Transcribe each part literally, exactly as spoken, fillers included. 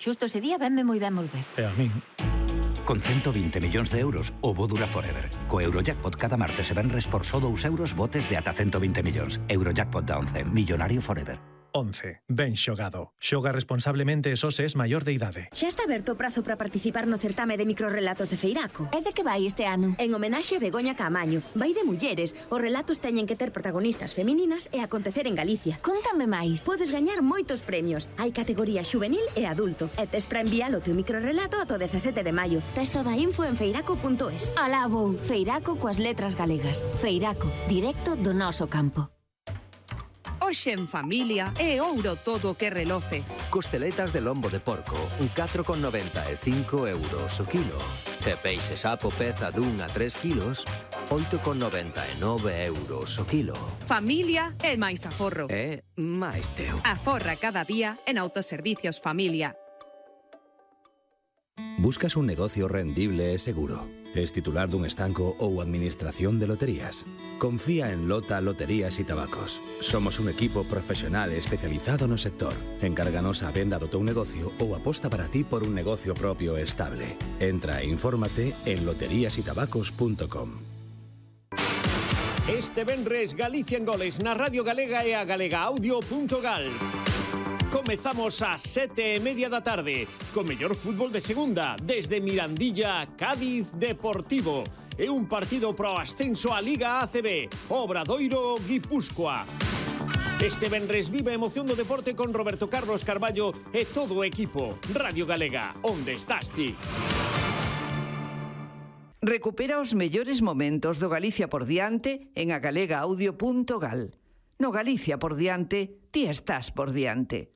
Xusto ese día venme moi ben volver. E a min. Con ciento veinte millóns de euros, o bo dura forever. Co Eurojackpot cada martes e venres por só dous euros botes de ata ciento veinte millóns. Eurojackpot da once. Millonario forever. once. Ben xogado. Xoga responsablemente e só se es maior de idade. Xa está aberto o prazo para participar no certame de microrrelatos de Feiraco. E de que vai este ano? En homenaxe a Begoña Caamaño. Vai de mulleres. Os relatos teñen que ter protagonistas femininas e acontecer en Galicia. Contame máis. Podes gañar moitos premios. Hai categoría xuvenil e adulto. E tes para enviar o teu microrrelato ata o dezasete de maio. Tes toda a info en feiraco punto es. Alá vou. Feiraco coas letras galegas. Feiraco, directo do noso campo. Hoxe en familia é ouro todo o que reloce. Costeletas de lombo de porco, catro con noventa e cinco euros o kilo. E peixe sapo peza dun a tres kilos, oito con noventa e nove euros o kilo. Familia é máis aforro. É máis teu. Aforra cada día en Autoservicios Familia. Buscas un negocio rendible e seguro. Es titular dun estanco ou administración de loterías. Confía en Lota Loterías y Tabacos. Somos un equipo profesional especializado no sector. Encárganos a venda do teu negocio ou aposta para ti por un negocio propio e estable. Entra e infórmate en loterías y tabacos punto com. Este venres Galicia en Goles na Radio Galega e a galega audio punto gal. Comezamos ás sete e media da tarde co mellor fútbol de segunda desde Mirandilla, Cádiz Deportivo e un partido pro ascenso á Liga A C B, Obradoiro Guipúscoa. Este venres vive a emoción do deporte con Roberto Carlos Carballo e todo o equipo. Radio Galega, onde estás ti? Recupera os mellores momentos do Galicia por diante en a galega audio punto gal. No Galicia por diante, ti estás por diante.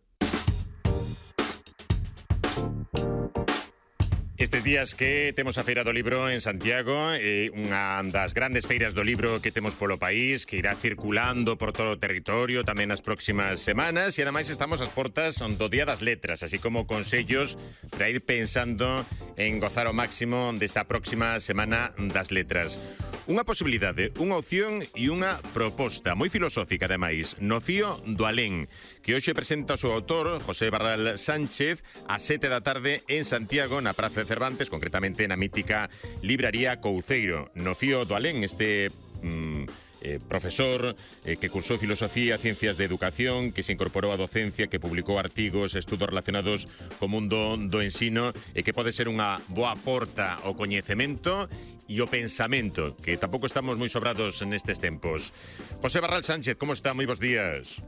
Estes días que temos a Feira do Libro en Santiago, eh, unha das grandes feiras do libro que temos polo país, que irá circulando por todo o territorio tamén nas próximas semanas, e ademais estamos ás portas do Día das Letras, así como consellos para ir pensando en gozar ao máximo desta próxima Semana das Letras. Unha posibilidade, unha opción e unha proposta moi filosófica, ademais, no fío do alén, que hoxe presenta o seu autor, José Barral Sánchez, a sete da tarde en Santiago, na Praza de Cervantes, concretamente na mítica libraría Couceiro. No fío do alén, este mm, eh, profesor eh, que cursou Filosofía, Ciencias de Educación, que se incorporou á docencia, que publicou artigos, estudos relacionados co mundo do ensino e que pode ser unha boa porta ao coñecemento e o pensamento, que tampouco estamos moi sobrados nestes tempos. José Barral Sánchez, como está? Moi bons días.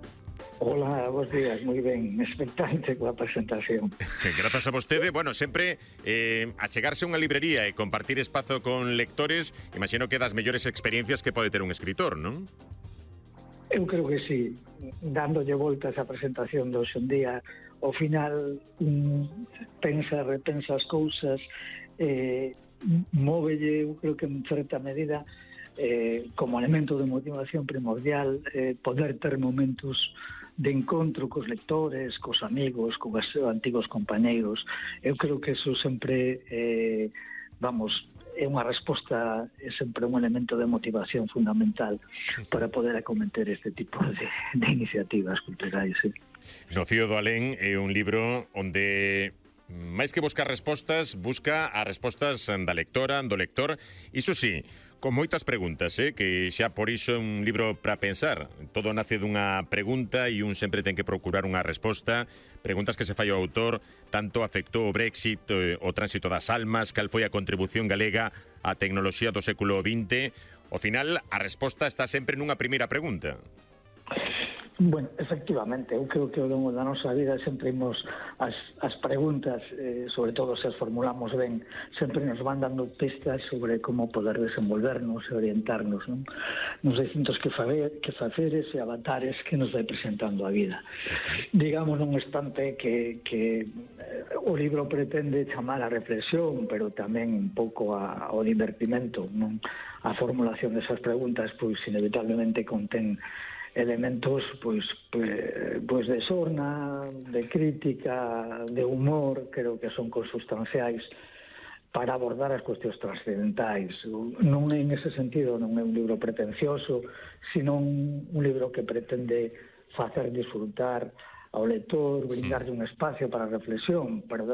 Hola, bons días, moi ben, expectante coa presentación. Grazas a vostede, bueno, sempre eh, achegarse a unha librería e compartir espazo con lectores, imagino que das mellores experiencias que pode ter un escritor, non? Eu creo que sí, dándolle voltas á presentación de hoxe en día, ao final um, pensa, repensa as cousas, eh, móvelle, eu creo que en certa medida, eh, como elemento de motivación primordial, eh, poder ter momentos de encontro cos lectores, cos amigos, cos antigos compañeiros. Eu creo que eso sempre, eh, vamos, é unha resposta, é sempre un elemento de motivación fundamental para poder acometer este tipo de, de iniciativas culturais. Sí. No fío do alén é un libro onde máis que buscar respostas, busca as respostas da lectora, do lector. Iso sí, con moitas preguntas, eh, que xa por iso é un libro para pensar. Todo nace dunha pregunta e un sempre ten que procurar unha resposta. Preguntas que se fai ao autor, tanto afectou o Brexit, eh, o tránsito das almas, cal foi a contribución galega á tecnoloxía do século vinte. Ao final, a resposta está sempre nunha primeira pregunta. Bueno, efectivamente, eu creo que ao longo da nosa vida sempre imos as, as preguntas, eh, sobre todo se as formulamos ben, sempre nos van dando pistas sobre como poder desenvolvernos e orientarnos, non? Nos distintos que, faber, que faceres e avatares que nos vai presentando a vida. Digamos nun instante que, que eh, o libro pretende chamar a reflexión, pero tamén un pouco a, ao divertimento, non? A formulación desas preguntas, pois inevitablemente contén elementos pois, pois de sorna, de crítica, de humor, creo que son consustanciais para abordar as cuestións trascendentais. Non é en ese sentido, non é un libro pretencioso, sino un, un libro que pretende facer disfrutar ao lector, brindarlle un espacio para a reflexión, pero